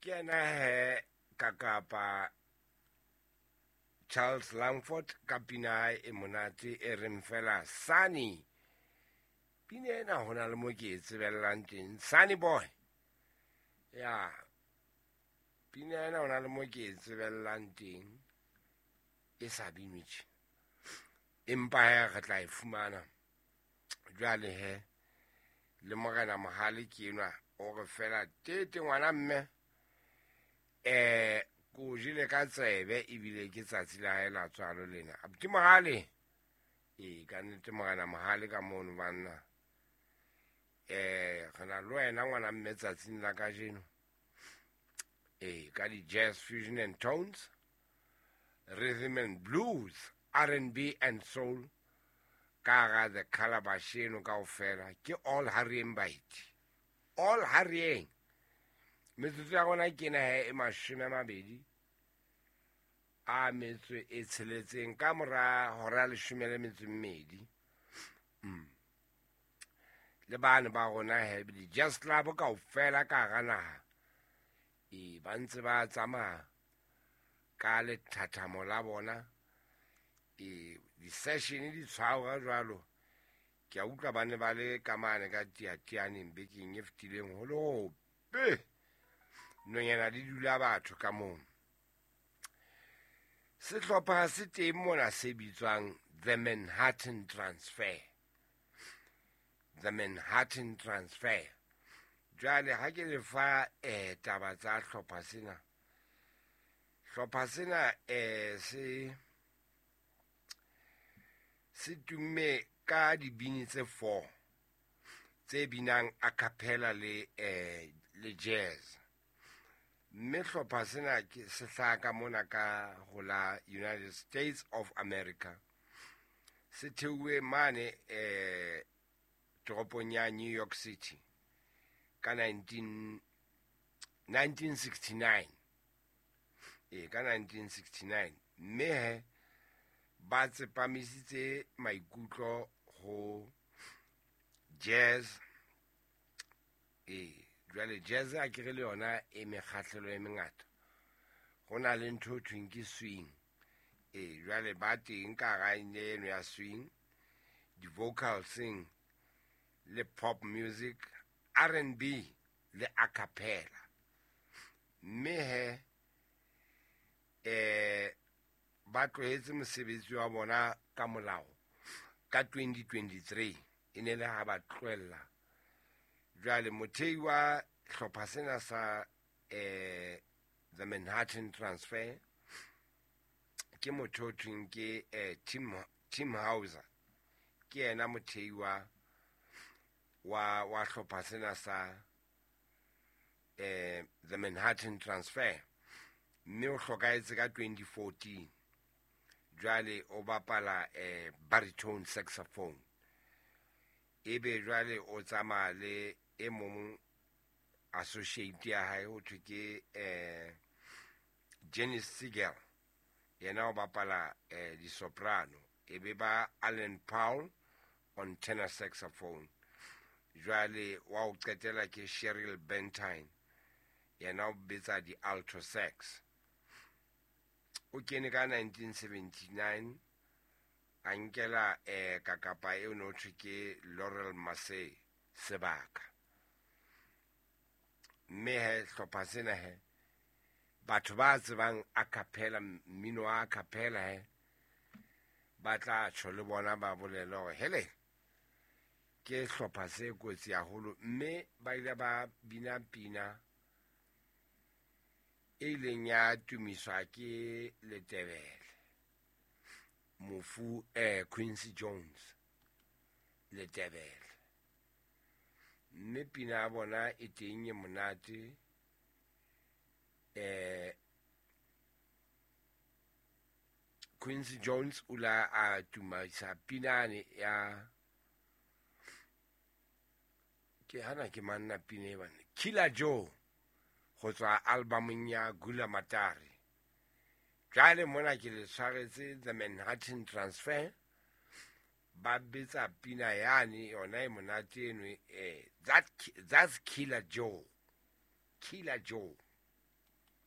Ke yena he kakapa Charles Langford ka pina hae e monate e reng fela Sunny. Pina ena ho na le mo ke e tsebellang teng. Sunny boy. Ya. Pina ena ho na le mo ke e tsebellang teng. E sa binwe tje. Empa he re tla e fumana. Jwale he le morena Mohale ke enwa o re fela tete ngwana mme ko jele ka tsebe ebile ke tsatsi la hae la tswalo lena. Abuti Mohale. Ee, ka nnete morena Mohale ka mono banna. Re na le wena ngwana mme tsatsing la kajeno. Ee, ka di jazz fusion and tones, rhythm and blues, R&B and soul. Ka hara the calabash eno kaofela ke all harryeng baeti. All harryeng. Metsotso ya rona ke ena he e 20 a metso e tsheletseng ka mora hora 12. Le bane ba rona he di jazz club kaofela ka hara naha. E ba ntse ba tsamaya ka lethathamo la bona. E di-session di tshwarwa jwalo. Ke a utlwa ba ne ba le ka mane ka tiatianeng bekeng e fetileng ho le hope. Nonyana di dula batho ka moo. Sehlopha se teng mona se bitswang The Manhattan Transfer. The Manhattan Transfer. Jwale ha ke le fa taba tsa hlopha sena. Hlopha sena se tumme ka dibini tse 4 tse binang a cappella le jazz. Mme hlopha sena ke se hlaha ka mona ka ho la United States of America. Se theuwe mane toropong ya New York City ka 1969. Ka 1969. Mme he ba tsepamisitse maikutlo ho jazz. Jwale jazz a kere le yona e mekgahlelo e mengata. Ho na le ntho ho thweng ke swing. Jwale ba teng ka hara eno ya swing, di-vocal sing le pop music, R&B le a cappella. Mme he ba tlohetse mosebetsi wa bona ka molao ka 2023 e ne le ha ba tlohella. Jwale mothei wa hlopha sena sa The Manhattan Transfer ke motho o thweng ke Tim Hauser. Ke yena mothei wa hlopha sena sa The Manhattan Transfer. Mme o hlokahetse ka 2014. Jwale o bapala baritone saxophone. Ebe jwale o tsamaya le e mong associate ya hae ho thwe ke Janice Siegel. Yena o bapala di-soprano. Ebe ba Alan Powell on tenor saxophone. Jwale wa o qetela ke Cheryl Bentine. Yena o betsa di-alto sax. O kene ka 1979 a nkela kakapa eo no thwe ke Laurel Massey sebaka. Mme he hlopha sena he batho ba tsebang a cappella, mmino wa a cappella he ba tla tjho le bona ba bolele hore hele ke hlopha se kotsi haholo. Mme ba ile ba bina pina e ileng ya tumiswa ke Letebele, mofu Quincy Jones Letebele. Mme pina ya bona e teng e monate. Quincy Jones o la a tumaisa pinane ya ke hana ke manna pina e bana Killer Joe go tswa albumong ya Gula Matari. Jwale mona ke le tshwaretse The Manhattan Transfer. Ba betsa pina yane yona e monate eno, that's Killer Joe. Killer Joe.